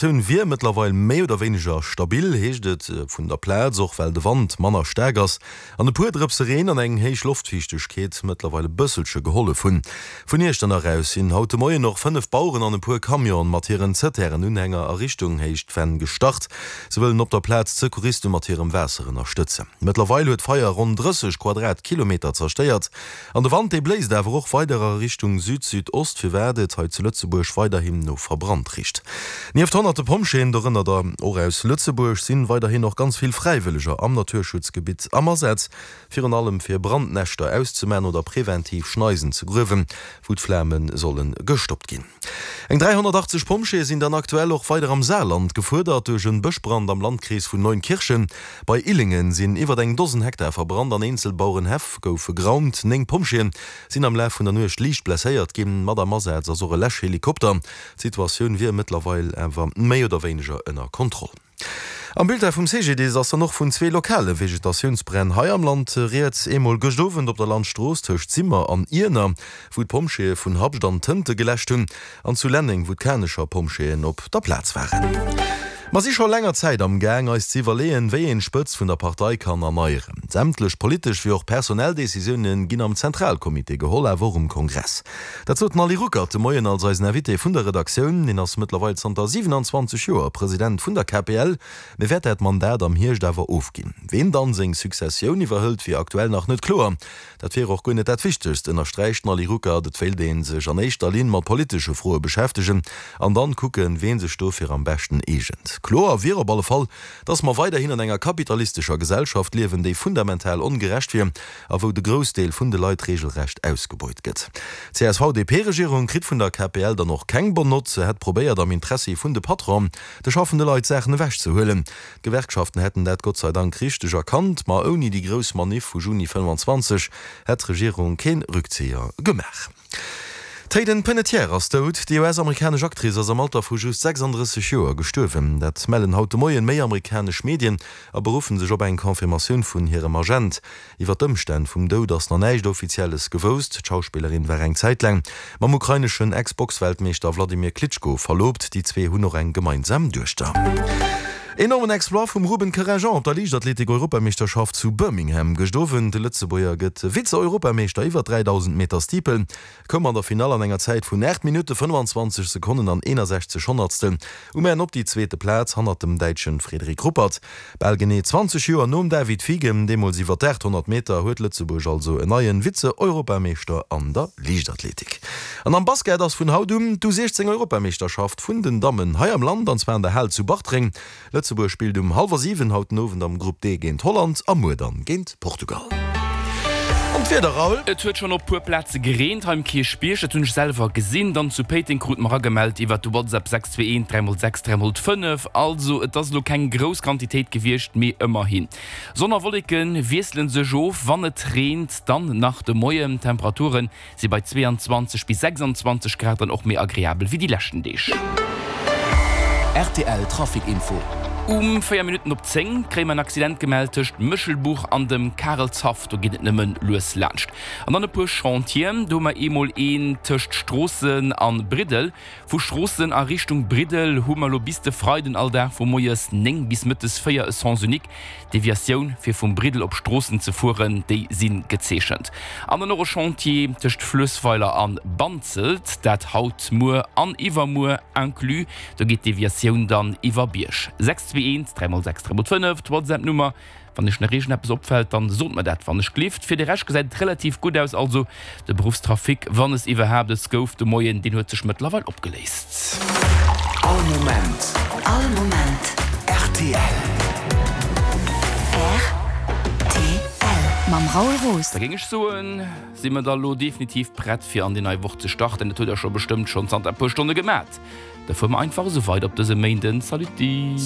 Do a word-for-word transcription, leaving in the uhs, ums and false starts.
D'Situatioun wier mëttlerweil méi oder wéineger stabil, heescht et vun der Plaz, och well de Wand manner staark ass an e puer Drëpse Reen an eng héich Loftfiichtegkeet mëttlerweil e bësselche gehollef hunn. Vun Iechternach aus sinn haut de Moien och fënnef Baueren an e puer Camionen mat hiren Zëtären-Unhänger a Richtung Héicht Venn gestart. Se wëllen op der Plaz d'Secouriste mat hirem Waasser ënnerstëtzen. Mëttlerweil huet d'Feier ronn drësseg Quadratkilometer zerstéiert an de Wand dee bléist awer och weider a Richtung Süd-Südost, firwat et hei zu Lëtzebuerg weiderhin no verbrannt richt. Nieft honnerte Pompjeeën, dorënner der och aus Lëtzebuerg, sinn weiderhin och ganz vill Fräiwëlleger am Naturschutzgebitt am Asaz, virun allem fir Brandnäschter auszemaachen oder preventiv Schneisen ze gruewen, wou d'Flame solle gestoppt ginn. Eng dräihonnertachtzeg Pompjeeë sinn dann aktuell och weider am Saarland gefuerdert. Duerch en Bëschbrand am Landkrees vun Neunkirchen bei Illingen sinn iwwer eng Dosen Hektar verbrannt an eenzel Bauerenhäff goufe geraumt. Néng Pompjeeë sinn am Laf vun der Nuecht liicht blesséiert ginn. Mat am Asaz ass och e Läschhelikopter. D'Situatioun wier mëttlerweil awer méi oder wéineger ënner Kontroll. Am Bulletin vum C G D I S ass dann och vun zwee lokale Vegetatiounsbränn hei am Land rieds. Eemol gëscht Owend op der Landstrooss tëscht Simmer an Iener, wou d'Pompjeeë vun Habscht an Tënte geläscht hunn, an zu Lenneng, wou d'Kanecher Pompjeeën op der Plaz waren. Mer si scho länger Zäit am Gaang, eis ze iwwerleeën, wéi een d'Spëtzt vun der Partei kann erneieren. Sämtlech politesch wéi och personell Decisioune ginn am Zentralcomité geholl, awer och um Kongress. Dat sot den Ali Ruckert de Moien als eisen Invité vun der Redaktioun. Hien ass mëttlerweil zanter siewenanzwanzeg Joer President vun der K P L, mee wäert dat Mandat am Hierscht awer ofginn. Ween dann seng Successioun iwwerhëlt, wier aktuell nach net kloer. Dat wier och guer net dat Wichtegst, ënnersträicht den Ali Ruckert. Et wéilt ee sech an éischter Linn mat politesche Froe beschäftegen an dann kucken, ween sech dofir am beschten eegent. Kloer wier op alle Fall, dass mer weiderhin an enger kapitalistescher Gesellschaft liewen, déi fundamental ongerecht wier a wou de Groussdeel vun de Leit reegelrecht ausgebeut gëtt. D'C S V D P-Regierung kritt vun der K P L dann och keng bonne Nott. Se hätt probéiert, am Interessi vun de Patronen de schaffende Leit Saachen ewechzehuelen. D'Gewerkschaften hätten dat Gott sei Dank richteg erkannt, ma ouni déi grouss Maniff vu Juni fënnefanzwanzeg hätt d'Regierung kee Rückzéier gemaach. D'Hayden Panettiere ass dout. Déi U S-amerikanesch Actrice ass am Alter vu just sechsandrësseg Joer gestuerwen. Dat mellen haut de Moien méi amerikanesch Medien a beruffen sech op eng Confirmatioun vun hirem Agent. Iwwer d'Ëmstänn vum Doud ass nach näischt Offizielles gewousst. D'Schauspillerin war eng Zäit laang mam ukraineschen Ex-Boxweltmeeschter Wladimir Klitschko verloobt. Déi zwee hunn och eng gemeinsam Duechter. Enormen Exploit vum Ruben Kerenjean op der Liichtathletik-Europameeschterschaft zu Birmingham gëscht Owend. De Lëtzebuerger gëtt Vize-Europameeschter iwwer dräidausend Meter Steeple, koum an der Finall an enger Zäit vun aacht Minutte, fënnefanzwanzeg Sekonnen an eenasechzeg Honnertstel um Enn op déi zweete Plaz hannert dem Däitsche Frederik Ruppert. Bal genee zwanzeg Joer nom David Fiegem, deemools iwwer d'aathonnert Meter, huet Lëtzebuerg also en neie Vize-Europameeschter an der Liichtathletik. An am Basket ass vun haut un d'U siechzéng Europameeschterschaft vun den Dammen hei am Land, an zwar an der Hal zu Bartreng. Lëtzebuerg spillt um hallwer siwen haut den Owend am Grupp D géint Holland a muer dann géint Portugal. An d'Wieder, Raoul? Et huet schonn op puer Plaze gereent hei um Kierchbierg, dat hunn ech selwer gesinn. Dann zu Péiteng krute mer agemellt iwwert de WhatsApp sechs zwee eent dräi mol sechs dräi mol fënnef. Also et ass elo keng grouss Quantitéit gewiescht, mee ëmmerhin. Sonn a Wolleke wiessele sech of, wann et reent, dann nach de Moien. D'Temperature si bei zweeanzwanzeg bis sechsanzwanzeg Grad dann och méi agreabel wéi déi leschten Deeg. R T L Trafic Info. Um véier Minutten op zéng kréie mer en Accident gemellt tëscht Méchelbuch an dem Karelshaff. Do geet et nëmmen lues laanscht. An dann e puer Chantieren. Do hu mer eemol een tëscht Stroossen a Briddel. Vu Stroossen a Richtung Briddel hu mer elo bis de Freiden all Dag vu moies néng bis mëttes véier e Sens unique. Deviatioun fir vum Briddel op Stroossen ze fueren, déi si gezeechent. An dann och e Chantier tëscht Fluessweiler a Banzelt, dat haut, muer an iwwermuer inclus. Do geet d'Deviatioun dann iwwer Bierg. sechs zwee eent dräi mol sechs dräi mol fënnef, d'WhatsApp-Nummer. Wann iech nach iergendeppes opfält, dann sot mer dat wann ech gelift. Fir de Rescht gesäit et relativ gutt aus, also de Beruffstrafic, wann es iwwerhaapt es gouf de Moien, deen huet sech mëttlerweil opgeléist. All Moment. All Moment. R T L. R T L mam Raoul Roos. Da géing ech soen, si mer da lo definitiv prett fir an déi nei Woch ze starten. Dat hutt der scho bestëmmt schonn zanter e puer Stonne gemat. Da fuere mer einfach esou weider op dësem Méinden. Saluti!